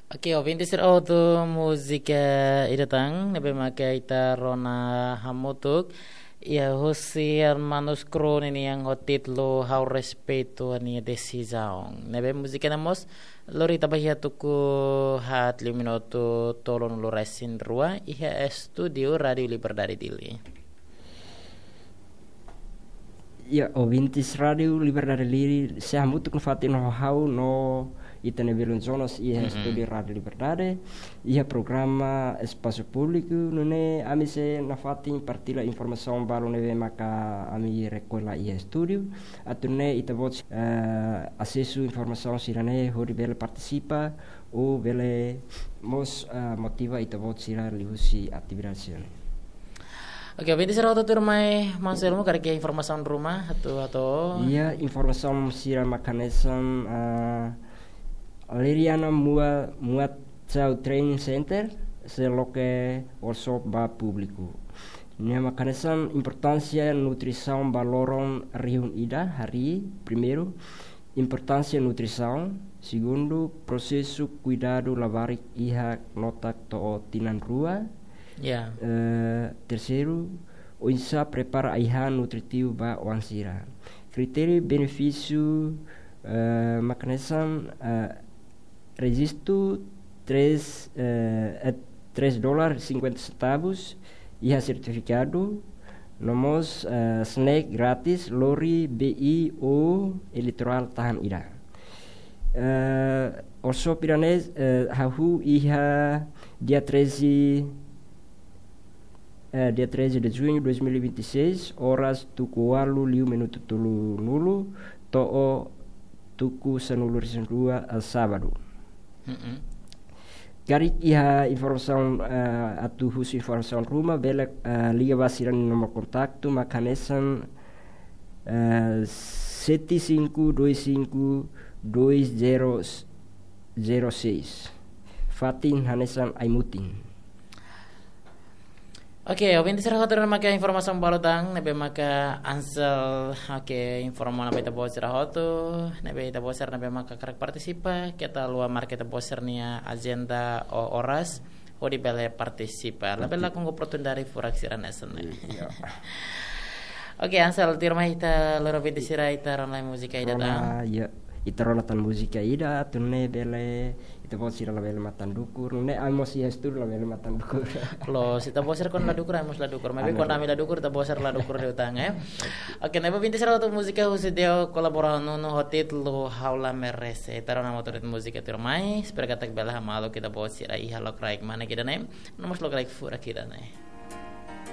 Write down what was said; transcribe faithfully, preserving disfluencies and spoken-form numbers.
Oke, ouvinte sira hotu, múzika ida tan ne'ebé maka ita rona hamutuk iha husi Hermanus Kru nian ho títulu Ha'u Respeita Nia Desizaun. Ne'ebé múzika ne'e mós lori ita ba iha tuku haat liu minutu tolunulu-resin-rua iha estúdiu Rádiu Liberdade Dili. Ya, ouvintes Rádiu Liberdade Dili, sei hamutuk nafatin ho ha'u no ita-nia belun Jonas iha estúdiu Rádiu Liberdade, iha programa Espasu Públiku, nune'e ami sei nafatin partilla informasaun balu ne'ebé maka ami rekolla iha estúdiu, atu nune'e ita-boot, eh, asesu informasaun sira-ne'e hodi bele partisipa, ou bele mós, eh, motiva ita-boot sira liuhusi atividade sira-ne'e. Oke, ouvinte sira hotu, tuirmai Mansur Elmo karik iha informasaun ruma, atu, atu. Iha informasaun sira mak hanesan, ah, Leriana Mua, Muat Chau Training Center, sei loke workshop ba públiku. Nia mak hanesan importánsia nutrisaun ba loron rihun ida, harii, primeiru, importánsia nutrisaun, segundu, prosesu kuidadu labarik iha notak to'o tinan rua. Ya. Eh, terseiru, oinsá prepara ai-han nutritivu ba oan sira. Kritériu benefísiu, eh, mak hanesan, eh, rejistu três, eh, eh, três dólar cinquenta centavos, iha sertifikadu, no mós, eh, snack grátis, lori, bebida ou eletrólitu tahan ida. Eh, workshop ida-ne'e, eh, hahú iha dia treze, eh, dia treze de junho de dois mil e vinte e seis, oras tuku ualu liu minutu tolunulu, to'o tuku sanulu-resin-rua, eh, sábadu. Mm-mm. Karik iha informasaun, eh, atu husu informasaun ruma, bele, eh, liga ba sira-nia nomor kontaktu, mak hanesan, eh, sete cinco dois cinco dois zero zero seis. Fatin hanesan ai-mutin. Oke, ouvinte sira hotu, ne'e maka informasaun balu tan ne'ebé maka Ansel, oke, informa ona ba ita-boot sira hotu, ne'ebé ita-boot sira ne'ebé maka hakarak partisipa, keta haluha marka ita-boot sira-nia ajenda ou oras hodi bele partisipa. Labele lakon oportunidade furak sira hanesan ne'e. Iya. Oke, Ansel, tuirmai ita lori ouvinte sira, ita rona múzika ida tan. Rona, iya. Ita rona tan múzika ida, atu nune'e bele ita-boot sira labele matan dukur, nune'e ami mós iha estúdiu labele matan dukur. Loos, ita-boot sira kuandu la dukur, ami mós la dukur. Maibé kuandu ami la dukur, ita-boot sira la dukur liután, eh. Oke, ne'e ba ouvinte sira hotu, múzika husi Deo kolaborasaun ho títulu Ha'u La Merese. Ita rona hamutuk de'it múzika tuirmai, espera katak bele hamaluk ita-boot sira iha lokraik mane ida-ne'e, no mós lokraik furak ida-ne'e.